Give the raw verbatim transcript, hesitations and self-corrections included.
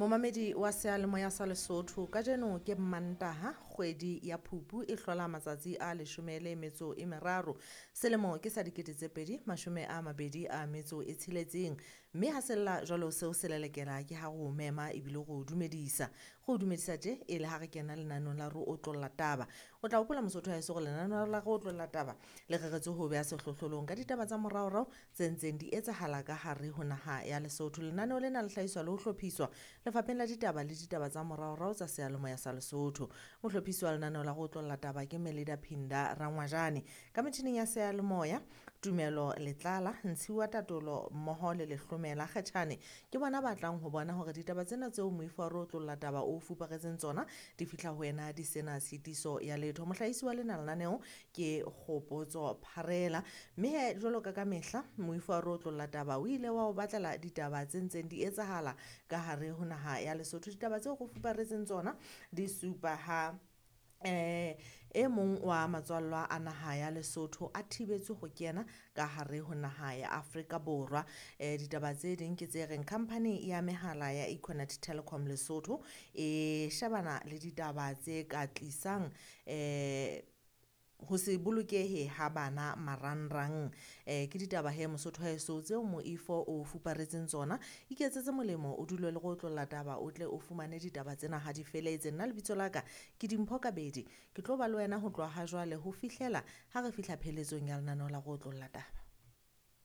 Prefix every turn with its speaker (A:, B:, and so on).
A: Momamedi wa seyalemoya sa Lesotho, kajeno ke Mantaha, kgwedi ya Phupu e hlola matsatsi a leshome le metso e meraro. Selemo ke sa dikete tse pedi mashome a mabedi a metso e tsheletseng. Mme ha sella jwalo seo se lelekela ke ha re o mema ebile re o dumedisa. Re o dumedisa tje e le ha re kena lenaneong la re otlolla taba. O tla hopola Mosotho wa heso hore lenaneo la re otlolla taba le reretswe ho beha sehlohlolong ka ditaba tsa moraorao tse ntseng di etsahala ka hare ho naha ya Lesotho. Lenaneo lena le hlahiswa le ho hlophiswa Lefapheng la Ditaba le Ditaba tsa Moraorao tsa Seyalemoya sa Lesotho. Mohlophisi wa lenaneo la go otlolla taba ke Melida Phinda Rangwajane. Ka metjhining ya seyalemoya, Tumelo Letlala, Ntshiwa Tatolo mmoho le Lehlomela Kgetjhane ke bona ba tlang ho bona hore ditaba tsena tseo moifo wa re otlolla taba o fuparetseng tsona di fihla ho wena di sena tshitiso ya letho. Mohlahisi wa lena lenaneo ke Kgopotso Pharela. Mme he jwalo ka ka mehla moifo wa re otlolla taba o ile wa o batlela ditaba tse ntseng di etsahala ka hare ho naha ya Lesotho. Ditaba tseo re fuparetseng tsona di supa ha eh e mong wa matswallwa a naha ya Lesotho a thibetswe ho kena ka hare ho naha ya Afrika Borwa. Eh ditaba tse ding ke tse reng company ya mehala ya Econet Telecom Lesotho e shebana le ditaba tse ka tlisang eh ho se bolokehe ha bana marangrang. Eh ke ditaba he Mosotho haeso tseo moifo o fuparetseng tsona. Iketsetse molemo o dule le go otlolla taba o tle o fumane ditaba tsena ha di feletse. Nna lebitso la ka ke Dimpho Kabedi. Ke tlo ba le wena ho tloha ha jwale ho fihlela ha re fihla pheletsong ya lenaneo la go otlolla taba.